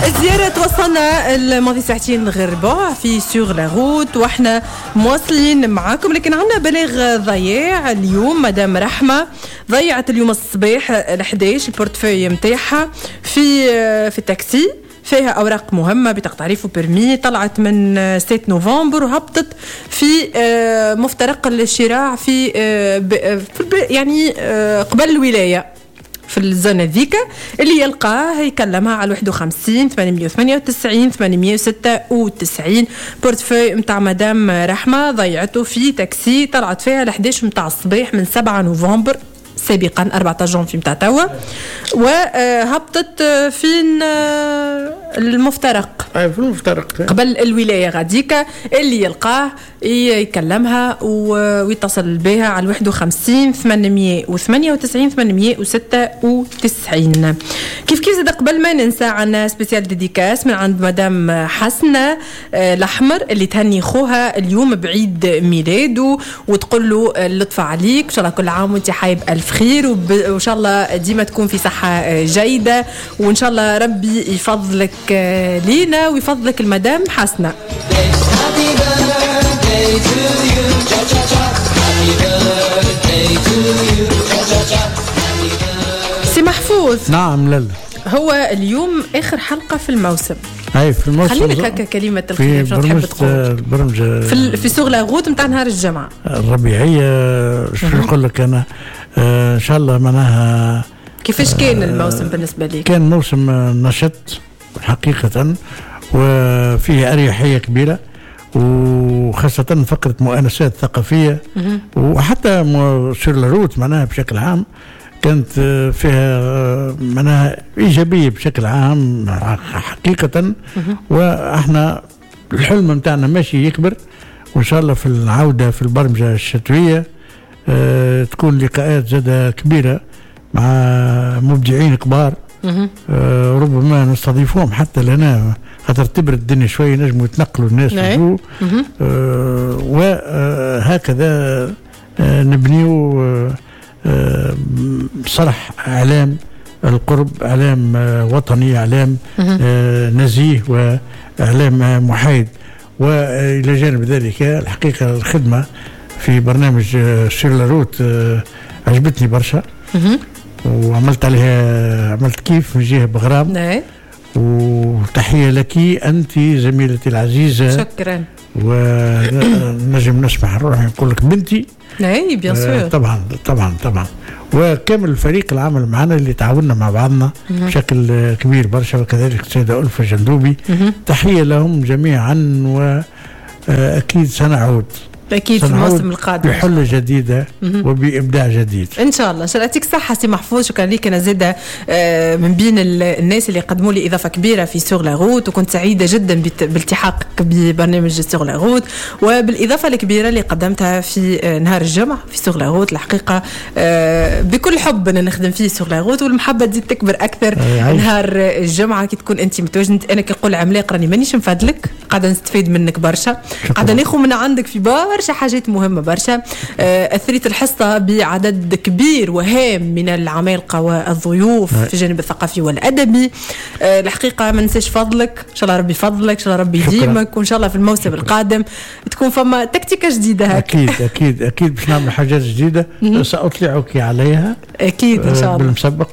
الزيارة توصلنا الماضي ساعتين غير ربع في sur la route، واحنا مواصلين معاكم، لكن عندنا بلاغ ضياع اليوم. مدام رحمة ضيعت اليوم الصباح ال 11 ال portefeuille نتاعها في التاكسي، فيها اوراق مهمه، بطاقة تعريف و permis. طلعت من 6 نوفمبر وهبطت في مفترق الشراع في يعني قبل الولاية في ال zone ذيك. اللي يلقاه يكلمها على 51 898 896. portefeuille نتاع مدام رحمه ضيعته في تاكسي طلعت فيها ل 11 نتاع الصباح من 7 نوفمبر سابقا، 14 جانفي نتاع توا، وهبطت فين؟ المفترق. اي، في المفترق. قبل الولاية غاديكا. اللي يلقاه يكلمها ويتصل بها على 51 898 896. كيف كيف زاد قبل ما ننسى، عنا spécial dédicace من عند مدام حسنة الاحمر اللي تهني خوها اليوم بعيد ميلاده وتقول له اللطف عليك، ان شاء الله كل عام وانت حي بالف خير، وان شاء الله ديما تكون في صحة جيده، وان شاء الله ربي يفضلك لينا ويفضلك المدام حسنه. Happy birthday to you. Cha cha cha. Happy birthday to you. Cha cha cha. سي محفوظ. نعم لالا. هو اليوم اخر حلقة في الموسم. اي، في الموسم. خلي لك هكا كلمة في الخير، شنو تحب برمجة تقول؟ البرمجة في sur la route نتاع نهار الجمعه. الربيعية، شو نقول لك أنا؟ إن شاء الله معناها كيفاش كان الموسم بالنسبة لك؟ كان موسم نشط حقيقة وفيه أريحية كبيرة، وخاصة فقرة مؤانسات ثقافية، وحتى sur la route معناها بشكل عام كانت فيها معناها إيجابية بشكل عام حقيقة. وإحنا الحلم نتاعنا ماشي يكبر، وإن شاء الله في العودة في البرمجة الشتوية تكون لقاءات زادة كبيرة مع مبدعين كبار، ربما نستضيفوهم حتى لهنا، خاطر تبرد الدنيا شوي نجموا يتنقلوا الناس ويجوا. وهكذا نبنيو صرح اعلام القرب، اعلام وطني، اعلام نزيه واعلام محايد. والى جانب ذلك، الحقيقة الخدمة في برنامج sur la route عجبتني برشا وعملت عليها، عملت كيف من جهة بغرام. وتحية لك انت زميلتي العزيزه. شكرا. ونجم نسمح روحي نقول لك بنتي. اي، bien sûr. طبعا طبعا طبعا، وكامل الفريق العمل معنا اللي تعاوننا مع بعضنا بشكل كبير برشا، وكذلك السيدة ألفة جندوبي. تحية لهم جميعا، واكيد سنعود. اكيد في سنعود الموسم القادم. بحله جديدة وبابداع جديد. ان شاء الله، ان شاء الله. يعطيك الصحة سي محفوظ، شكرا لك. انا زاده من بين الناس اللي قدموا لي اضافه كبيرة في sur la route، وكنت سعيدة جدا بالتحاقك ببرنامج sur la route وبالاضافة الكبيرة اللي قدمتها في نهار الجمعة في sur la route. الحقيقة بكل حب انا نخدم فيه sur la route، والمحبة تزيد تكبر اكثر عايش. نهار الجمعة كي تكون انت متواجد. انا كي نقول عملاق راني مانيش نفدلك، قاعدة نستفيد منك برشا، قاعدة ناخذ من عندك في برشا حاجات مهمة برشا. اثريت الحصة بعدد كبير وهام من العمالقة والضيوف في الجانب الثقافي والادبي. الحقيقة ما ننساش فضلك، ان شاء الله ربي يفضلك، ان شاء الله ربي شكراً. يديمك، وان شاء الله في الموسم القادم تكون فما تكتيكه جديدة هكا. اكيد اكيد اكيد، باش نعمل حاجات جديدة ساطلعك عليها. اكيد، ان شاء الله. بالمسبق.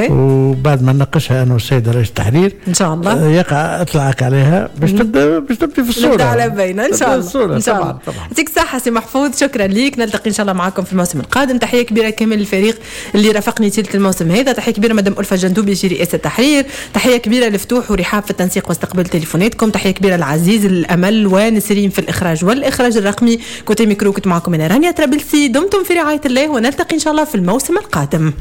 وبعد ما نناقشها انا والسيد رئيس التحرير ان شاء الله. يقع اطلعك عليها باش تبدي في الصوره. نبدا على بينه ان شاء تبدأ الله. الصورة. ان شاء طبعا الله. طبعا. يعطيك الصحة سي محفوظ، شكرا ليك. نلتقي ان شاء الله معكم في الموسم القادم. تحية كبيرة كامل الفريق اللي رافقني طيلة الموسم هذا، تحية كبيرة مدام ألفة جندوبي في رئاسة التحرير، تحية كبيرة لفتوح ورحاب في التنسيق واستقبال تليفوناتكم، تحية كبيرة لعزيز الأمل ونسرين في الإخراج والإخراج الرقمي. côté micro كنت معكم أنا رانيا ترابلسي. دمتم في رعاية الله، ونلتقي إن شاء الله في الموسم القادم.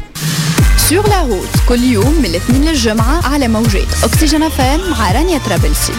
sur la route، كل يوم من الاثنين للجمعة على موجات أكسجين FM مع رانيا ترابلسي.